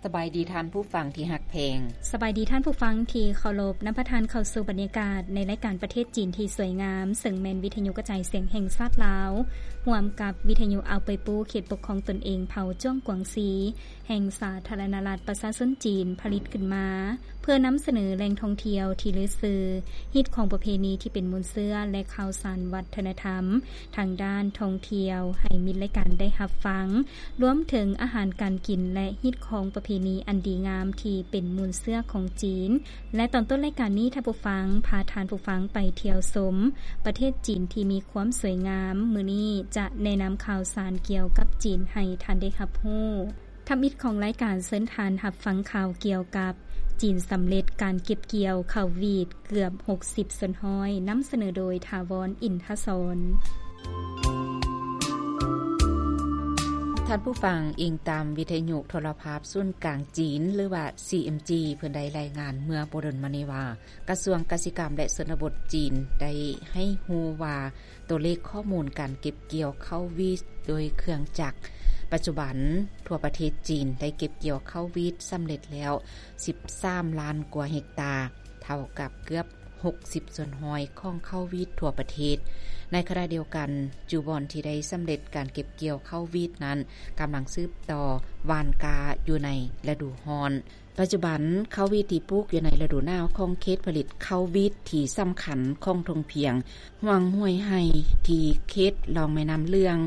ສະບາຍດີທ່ານຜູ້ຟັງທີ່ຮັກແພງ. ສະບາຍດີທ່ານຜູ້ຟັງທີ່ເຄົາລົບ. ນຳພາທ່ານເຂົ້າສູ່ບັນຍາກາດໃນລາຍການປະເທດຈີນທີ່ສວຍງາມ, ເຊິ່ງແມ່ນວິທະຍຸກະຈາຍສຽງແຫ່ງຊາດລາວ ຮ່ວມກັບວິທະຍຸເອົາເປີຍປູ ເຂດປົກຄອງຕົນເອງເຜົ່າຈວງກວາງຊີ ແຫ່ງສາທາລະນະລັດປະຊາຊົນຈີນ ຜະລິດຂຶ້ນມາ ເພື່ອນຳສະເໜີແຫຼ່ງທ່ອງທ່ຽວທີ່ລືຊື່, ຮີດຄອງປະເພນີທີ່ເປັນມູນເຊື້ອ ແລະ ຂ່າວສານວັດທະນະທຳ ທາງດ້ານທ່ອງທ່ຽວໃຫ້ມິດລາຍການໄດ້ຮັບຟັງ, ລວມເຖິງອາຫານການກິນ ແລະ ຮີດຄອງປະເພນີອັນດີງາມທີ່ເປັນມູນເຊື້ອຂອງຈີນ. ແລະ ຕອນຕົ້ນລາຍການນີ້ ທ່ານຜູ້ຟັງ ພາທ່ານຜູ້ຟັງໄປທ່ຽວຊົມປະເທດຈີນທີ່ມີຄວາມສວຍງາມ. ມື້ນີ້ຈະແນະນຳຂ່າວສານກ່ຽວກັບຈີນໃຫ້ທ່ານໄດ້ຮັບຮູ້. ທຳອິດຂອງລາຍການ ເຊີນທ່ານຮັບຟັງຂ່າວກ່ຽວກັບ ຈີນສຳເລັດການເກັບກ່ຽວເຂົ້າຫວີດເກືອບຫົກສິບສ່ວນຮ້ອຍ ນຳສະເໜີໂດຍ ຖາວອນ ອິນທະສອນ. ທ່ານຜູ້ຟັງ, ອີງຕາມວິທະຍຸໂທລະພາບສູນກາງຈີນ ຫຼືວ່າ ຊີເອັມຈີ ເພິ່ນໄດ້ລາຍງານເມື່ອບໍ່ດົນມານີ້ວ່າ ກະຊວງກະສິກຳ ແລະ ຊົນນະບົດຈີນ ໄດ້ໃຫ້ຮູ້ວ່າ ຕົວເລກຂໍ້ມູນການເກັບກ່ຽວເຂົ້າຫວີດໂດຍເຄື່ອງຈັກ ປັດຈຸບັນທົ່ວປະເທດຈີນໄດ້ເກັບກ່ຽວເຂົ້າຫວີດສຳເລັດແລ້ວສິບສາມລ້ານກວ່າເຮັກຕາ, ເທົ່າກັບເກືອບຫົກສິບສ່ວນຮ້ອຍຂອງເຂົ້າຫວີດທົ່ວປະເທດ. ໃນຂະນະດຽວກັນ, ຈຸບ່ອນທີ່ໄດ້ສຳເລັດການເກັບກ່ຽວເຂົ້າຫວີດນັ້ນ ກຳລັງສືບຕໍ່ຫວ່ານກ້າຢູ່ໃນລະດູຮ້ອນ. ປັດຈຸບັນ, ເຂົ້າຫວີດທີ່ປູກຢູ່ໃນລະດູໜາວຂອງເຂດຜະລິດເຂົ້າຫວີດທີ່ສຳຄັນຂອງທົ່ງພຽງຫວ່າງຫ້ວຍໄຮ່ ທີ່ເຂດລ່ອງແມ່ນ້ຳເຫຼືອງ,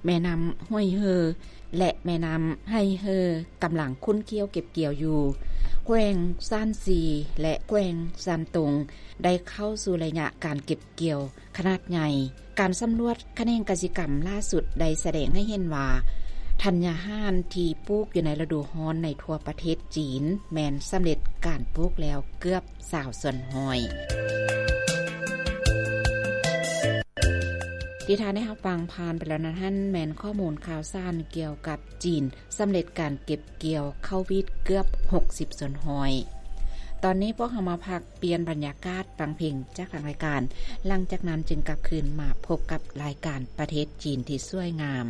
ແມ່ນ້ຳຫ້ວຍເຮີ ແລະ ແມ່ນ້ຳໄຮ່ເຮີ ກຳລັງຂຸ້ນຂ້ຽວເກັບກ່ຽວຢູ່. ແຂວງຊານຊີ ແລະ ແຂວງຊານຕົງ ໄດ້ເຂົ້າສູ່ໄລຍະການເກັບກ່ຽວ ຂະໜາດໃຫຍ່. ການສຳຫຼວດຂະແໜງກະສິກຳລ່າສຸດໄດ້ສະແດງໃຫ້ເຫັນວ່າ ທັນຍາຫານທີ່ປູກຢູ່ໃນລະດູຮ້ອນໃນທົ່ວປະເທດຈີນ ແມ່ນສຳເລັດການປູກແລ້ວເກືອບຊາວສ່ວນຮ້ອຍ. ທີ່ທ່ານໄດ້ຮັບຟັງຜ່ານໄປແລ້ວນັ້ນ ແມ່ນຂໍ້ມູນຂ່າວສານກ່ຽວກັບຈີນ ສຳເລັດການເກັບກ່ຽວເຂົ້າຫວີດເກືອບຫົກສິບສ່ວນຮ້ອຍ. ຕອນນີ້ພວກເຮົາມາພັກປ່ຽນບັນຍາກາດຟັງເພງຈາກທາງລາຍການ, ຫຼັງຈາກນັ້ນຈຶ່ງກັບຄືນມາພົບກັບລາຍການປະເທດຈີນທີ່ສວຍງາມ.